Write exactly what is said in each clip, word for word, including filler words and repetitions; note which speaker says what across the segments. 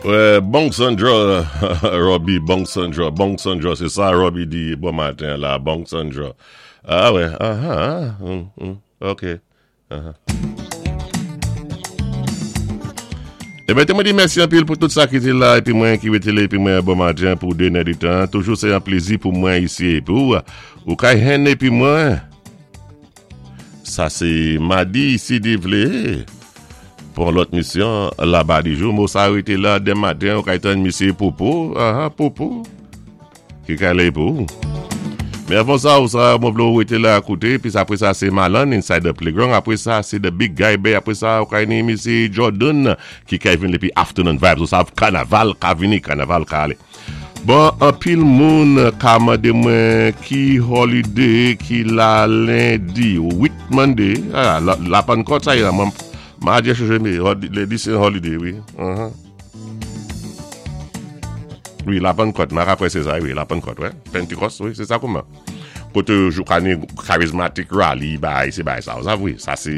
Speaker 1: Wè, bon Sandra, Robbie, bon Sandra, bon Sandra, sé sa Robbie di bon maten la, bon Sandra. Ah wè, ah ah, mm, mm, ok. Uh-huh. Eben, té mwen di mèsi anpil pou tout sa ki té la, épi mwen ki wété la, épi mwen bon maten pou dé nèditan. Toujou sé an plézi pou mwen isi épi ou, ou kay jwenn épi mwen. Sa sé madi si Dye vlé. Pou lòt misyon, laba di jou, mo sa rété la denmen maten, ou kay tann misyé Popo, ah, ah, Popo, ki kay la pou. Men avan sa, ou sa, mwen vlé ou rété la kouté, pi apwé sa sé Malan, Inside the Playground, apwé sa sé The Big Guy Bay, apwé sa ou kay ni misyé Jordan, ki kay vin épi Afternoon Vibes, ou sav kanaval ka vini, kanaval ka alé. Bon, anpil moun ka mandé mwen ki holiday ki la lendi, wit Monday, ah, la, la Pannkòt sa yé, mwen ma djé chanje mi, lendi sé holiday, wi. Uh-huh. Wi, la Pannkòt, ma apwé sé sa, wi, la Pannkòt, wè. Pentecost, wi, sé sa kouman. Koté jou ka ni charismatic rally, bay, sé bay sa, ou sav, wi, sa sé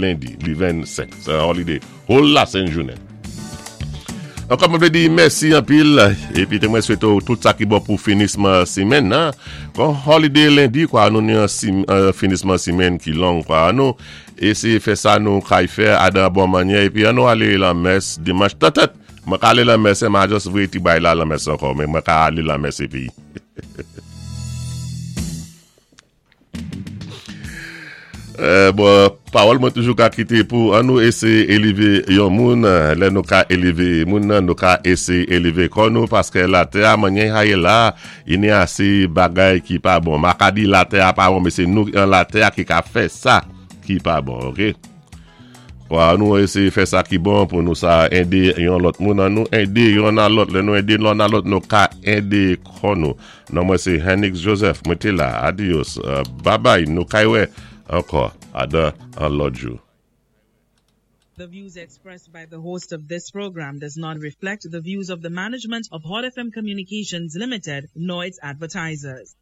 Speaker 1: lendi, li vennsenk, sé holiday, whole la sen jounen. Ankò mwen vlé di mèsi anpil épi té mwen swété tout sa ki bon pou finisman simenn nan. Kon holiday lendi kwa nou ni an sim, an finisman simenn ki long kwa nou éséyé fè sa nou kay fè adan bon mannyè épi an nou alé lan mès dimanch tèt mwen ka alé lan mès ma just voyé ti bay la lan mès ankò men mwen ka alé lan mès épi. Euh, bon, pawòl mwen toujou ka kité pou an nou éséyé élévé yon moun, lè nou ka élévé moun nan, nou ka éséyé élévé kò nou, paské latè a mannyè a yé la, i ni asé bagay ki pa bon. Ma ka di latè a pa bon, men sé nou an latè a ki ka fè sa ki pa bon, ok? Kwa nou éséyé fè sa ki bon pou nou sa édé yon lòt moun an nou édé yon nan lòt, lè nou édé yon nan lòt, nou ka édé kò nou. Non mwen sé Henix Joseph, mwen té la, adios, uh, bye bye, nou kay wè ankò, adan an lòt jou.
Speaker 2: The views expressed by the host of this program does not reflect the views of the management of Hot F M Communications Limited nor its advertisers.